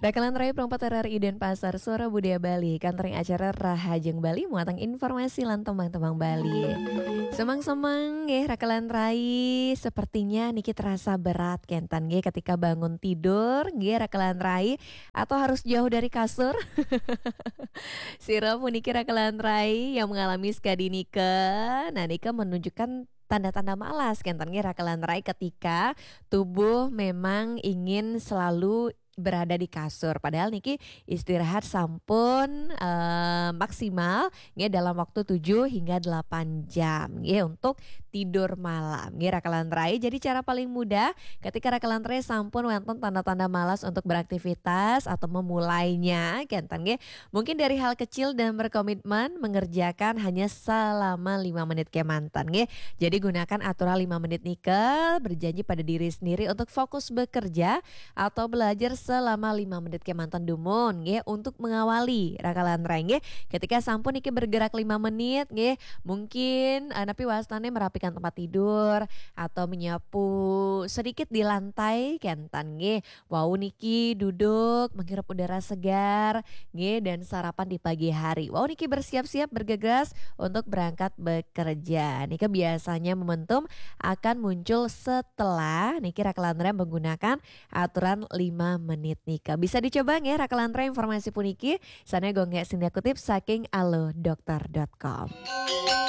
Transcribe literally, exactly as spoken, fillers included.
Rakalan Rai Pro empat R R I Denpasar, Suara Budaya Bali, kantring acara Rahajeng Bali, muatang informasi lan tembang-tembang Bali. Semang-semang nggih, Rakalan Rai, sepertinya niki terasa berat kenten nggih ketika bangun tidur nggih, Rakalan Rai, atau harus jauh dari kasur. Sira puniki, Rakalan Rai, yang mengalami sekadi nika, nah, nika menunjukkan tanda-tanda malas kenten nggih, Rakalan Rai, ketika tubuh memang ingin selalu berada di kasur, padahal niki istirahat sampun eh, maksimal nggih dalam waktu tujuh hingga delapan jam nggih untuk tidur malam nggih, Rakalan Rai. Jadi, cara paling mudah ketika Rakalan Rai sampun wenten tanda-tanda malas untuk beraktivitas atau memulainya kenten nggih, mungkin dari hal kecil dan berkomitmen mengerjakan hanya selama lima menit kemanten nggih. Jadi, gunakan aturan lima menit nika, berjanji pada diri sendiri untuk fokus bekerja atau belajar selama lima menit kemanten dumun nggih, untuk mengawali, Rakalan Rai nggih. Ketika sampun niki bergerak lima menit nggih, mungkin eh, napi wastane merapikan tempat tidur atau menyapu sedikit di lantai kenten nggih. Wau niki duduk menghirup udara segar nggih, dan sarapan di pagi hari. Wau niki bersiap-siap bergegas untuk berangkat bekerja. Nika biasanya momentum akan muncul setelah niki, Rakalan Rai, menggunakan aturan lima menit nika. Bisa dicoba nggih, Rakalan Rai, informasi puniki. Sana gonggek sindia kutip saking alodokter dot com.